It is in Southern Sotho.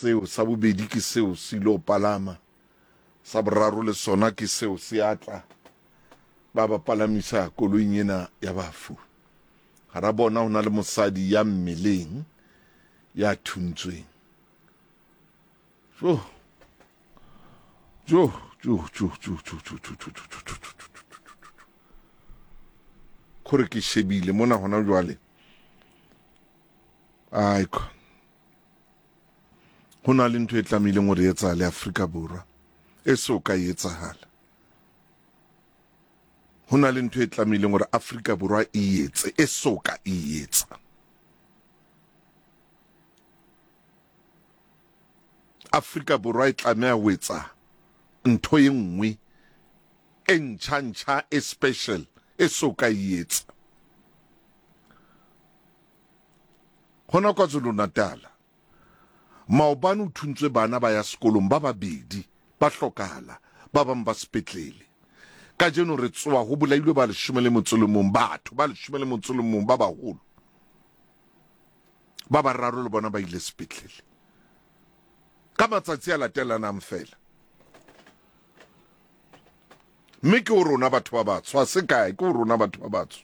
Seo sa bobedi ke seo se ilo palama, sa boraro le sona ke seo se a tla. Ba ba palamisa koloing ena ya bafu. Hara bona ho na le mosadi ya mmeleng ya thuntsweng. Jo. Jo, jo, jo, jo, jo, jo, jo, jo, jo, jo, jo, jo, jo, jo, jo. Kore ke shebile mona hona jwale. Aiko. Ho na le ntho e tlamehileng hore e etsahale Afrika Borwa e so ka e etsahala. Ho na le ntho e tlamehileng hore Afrika Borwa e etse e so ka e etsa. Afrika Borwa e tlameha ho etsa ntho e nngwe e ntjha-ntjha e special e so ka e etsa. Hona KwaZulu-Natal, maobane ho thuntswe bana ba ya sekolong ba babedi ba hlokahala, ba bang ba sepetlele. Kajeno re tsoa ho bolailwe ba 11 batho ba 11 ba baholo. Ba bararo le bona ba ile sepetlele ka matsatsi a latelanang feela. Mme ke ho rona batho ba batsho, ha se kae, ke ho rona batho ba batsho.